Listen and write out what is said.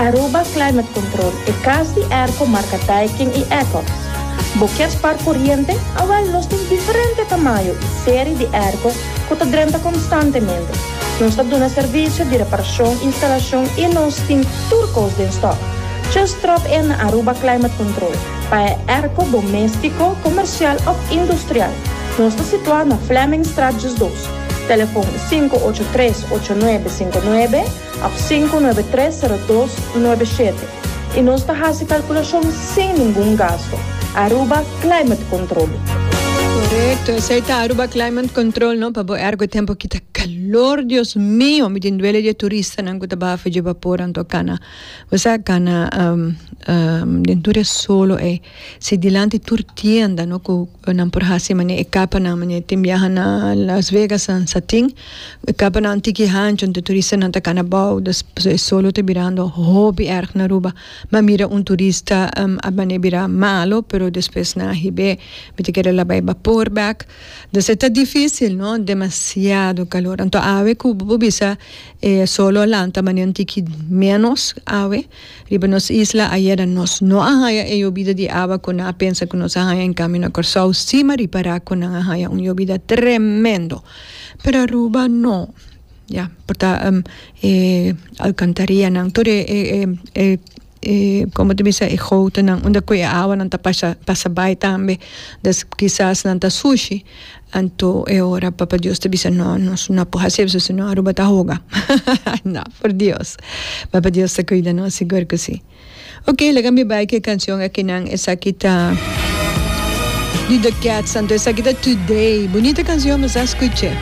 Aruba Climate Control, e cas di airco marca Daikin y Ecox. Bo kier spar coriente? Awel nos tin diferente tamayo y serie di airco cu ta drenta constantemente. Nos ta duna servicio di reparacion, instalacion y nos tin tur cos den stock. Just drop in na Aruba Climate Control pa e airco domestico, comercial of industrial. Nos ta situa na Flemingstraat 12. Telefon 583 8959 of 593 0297. Y nos ta haci calculacion sin ningun gasto. Aruba Climate Control. Correcto, esey ta Aruba Climate Control no, pa bo ergo tempo ki ta calor, Dios mio, mi tin duele di e turistanan cu ta baha for dje bapor anto cana, bo sa cana den tur e solo ey, si dilanti tur tienda no cu nan por haci mane e capanan mane tin biaha na Las Vegas nan sa tin e capanan tiki hancho anto turistanan ta cana abao dus e solo ta birando hopi erg na Aruba. Mi a mira un turista a mane bira malo pero despues nan a hib'é mi ta kere laba e bapor bek dus e ta dificil no demasiado calor anto awe cu bo por bisa e solo a lanta mane un tiki menos awe riba nos isla ayera nos no a haya e yobida di awa cu nan a pensa cu nos a haya en cambio na Corsou si mi a ripara cu nan a haya un yobida tremendo pero Aruba no. Ya, por ta e alcantarianan, tur e e e e como ta bisa e gotennan unda cu e awanan ta pasa pasa bay tambe, des kisas nan ta sushi, anto e ora Papa Dios ta bisa no nos no por haci eso sino Aruba ta hoga. No, por Dios. Papa Dios ta cuida nos sigur cu si. Ok, laga mi bai ku e kanshon akinan. Esaki ta di The Cats, anto esaki ta Today. Bunita kanshon, mi sa skuch'é.